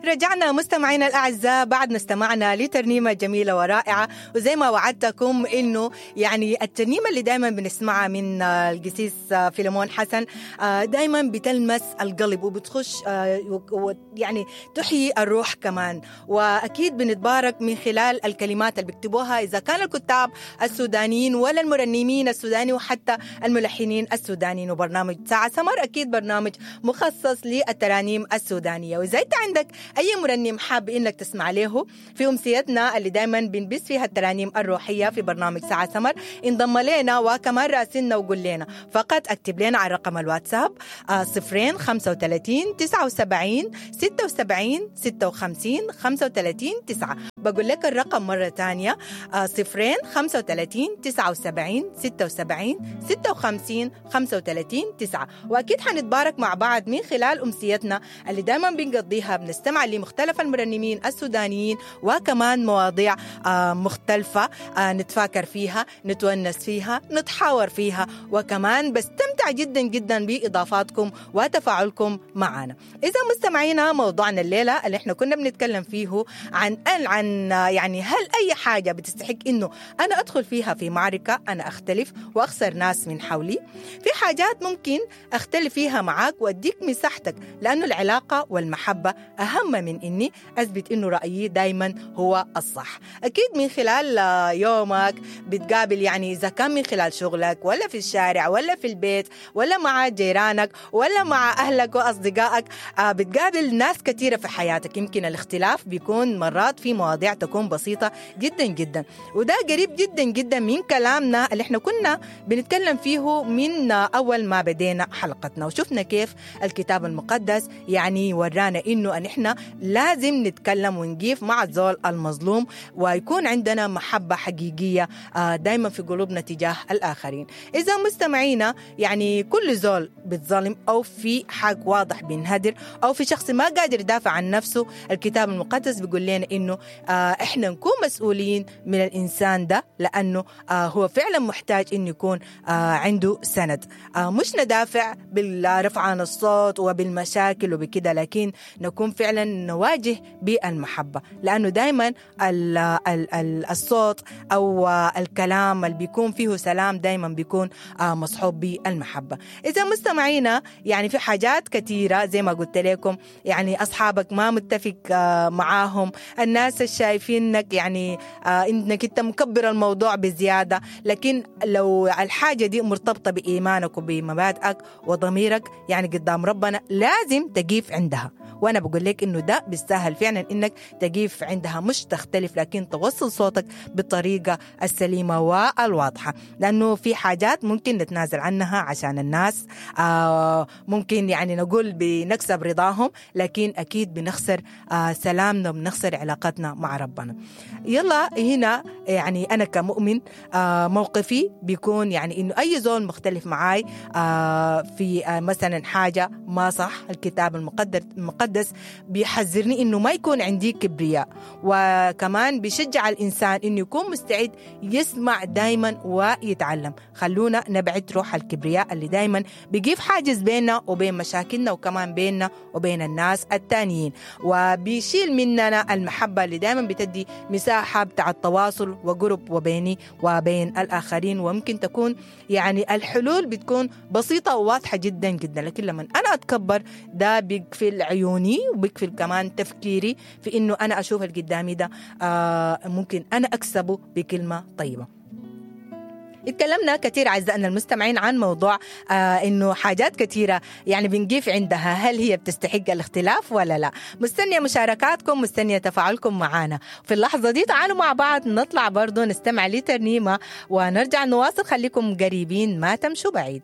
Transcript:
رجعنا مستمعينا الأعزاء بعد ما استمعنا لترنيمة جميلة ورائعة، وزي ما وعدتكم إنه يعني الترنيمة اللي دايما بنسمعها من القسيس فيلمون حسن دايما بتلمس القلب وبتخش يعني تحيي الروح كمان. وأكيد بنتبارك من خلال الكلمات اللي بيكتبوها إذا كان الكتاب السودانيين ولا المرنمين السوداني وحتى الملحنين السودانيين. وبرنامج ساعة سمر أكيد برنامج مخصص للترانيم السودانية، وإذا أنت عندك أي مرنم حاب إنك تسمع له في أمسيتنا اللي دايما بنبث فيها الترانيم الروحية في برنامج ساعة سمر، انضم لنا وكمان راسلنا وقول لنا. فقط اكتب لنا على رقم الواتساب 0 35 79 76 56 35 9. بقول لك الرقم مرة تانية 0 35 79 76 56 35 9. وأكيد حنتبارك مع بعض من خلال أمسيتنا اللي دايما بنقضيها بنستمع لمختلف المرنمين السودانيين وكمان مواضيع مختلفة نتفاكر فيها، نتونس فيها، نتحاور فيها، وكمان بستمتع جدا جدا بإضافاتكم وتفاعلكم معنا. إذا مستمعينا موضوعنا الليلة اللي احنا كنا بنتكلم فيه عن يعني هل أي حاجة بتستحق إنه أنا أدخل فيها في معركة، أنا أختلف وأخسر ناس من حولي؟ في حاجات ممكن أختلف فيها معاك وأديك مساحتك، لأنه العلاقة والمحبة أهم من إني أثبت إنه رأيي دايما هو الصح. أكيد من خلال يومك بتقابل، يعني إذا كان من خلال شغلك ولا في الشارع ولا في البيت ولا مع جيرانك ولا مع أهلك وأصدقائك، بتقابل ناس كثيرة في حياتك. يمكن الاختلاف بيكون مرات في مواضيع تكون بسيطة جدا جدا، وده قريب جدا جدا من كلامنا اللي احنا كنا بنتكلم فيه من أول ما بدينا حلقتنا، وشفنا كيف الكتاب المقدس يعني ورانا إنه أن احنا لازم نتكلم ونقيف مع الزول المظلوم، ويكون عندنا محبة حقيقية دايما في قلوبنا تجاه الآخرين. إذا مستمعينا يعني كل زول بتظلم أو في حق واضح بينهدر أو في شخص ما قادر يدافع عن نفسه، الكتاب المقدس بيقول لنا إنه إحنا نكون مسؤولين من الإنسان ده، لأنه هو فعلا محتاج إنه يكون عنده سند. مش ندافع بالرفعان الصوت وبالمشاكل وبكده، لكن نكون فعلا نواجه بالمحبة، لأنه دايما الصوت أو الكلام اللي بيكون فيه سلام دايما بيكون مصحوب بالمحبة. إذا مستمعينا يعني في حاجات كثيرة زي ما قلت لكم، يعني أصحابك ما متفق معاهم، الناس الشايفينك يعني إنك أنت مكبر الموضوع بزيادة، لكن لو الحاجة دي مرتبطة بإيمانك وبمبادئك وضميرك يعني قدام ربنا لازم تقيف عندها. وأنا بقول لك إنه ده بيستاهل فعلا إنك تقيف عندها، مش تختلف لكن توصل صوتك بالطريقة السليمة والواضحة، لأنه في حاجات ممكن نتنازل عنها عشان الناس، ممكن يعني نقول بنكسب رضاهم، لكن أكيد بنخسر سلامنا وبنخسر علاقتنا مع ربنا. يلا هنا يعني أنا كمؤمن موقفي بيكون يعني إنه أي زول مختلف معاي في مثلا حاجة ما صح، الكتاب المقدس بيحذرني إنه ما يكون عندي كبرياء، وكمان بيشجع الإنسان إنه يكون مستعد يسمع دايما ويتعلم. خلونا نبعد روح الكبرياء اللي دايما بيجيب حاجز بيننا وبين مشاكلنا وكمان بيننا وبين الناس التانيين، وبيشيل مننا المحبة اللي دايما بتدي مساحة بتاع التواصل وقرب وبيني وبين الآخرين. وممكن تكون يعني الحلول بتكون بسيطة وواضحة جدا جدا، لكن لما أنا أتكبر ده بيقفل عيوني وبيقفل كمان تفكيري في إنه أنا أشوف اللي قدامي ده ممكن أنا أكسبه بكلمة طيبة. اتكلمنا كثير أعزائنا المستمعين عن موضوع إنه حاجات كثيرة يعني بنقيف عندها، هل هي بتستحق الاختلاف ولا لا؟ مستنية مشاركاتكم، مستنية تفاعلكم معنا في اللحظة دي. تعالوا مع بعض نطلع برضو نستمع لترنيمة ونرجع نواصل، خليكم قريبين ما تمشوا بعيد.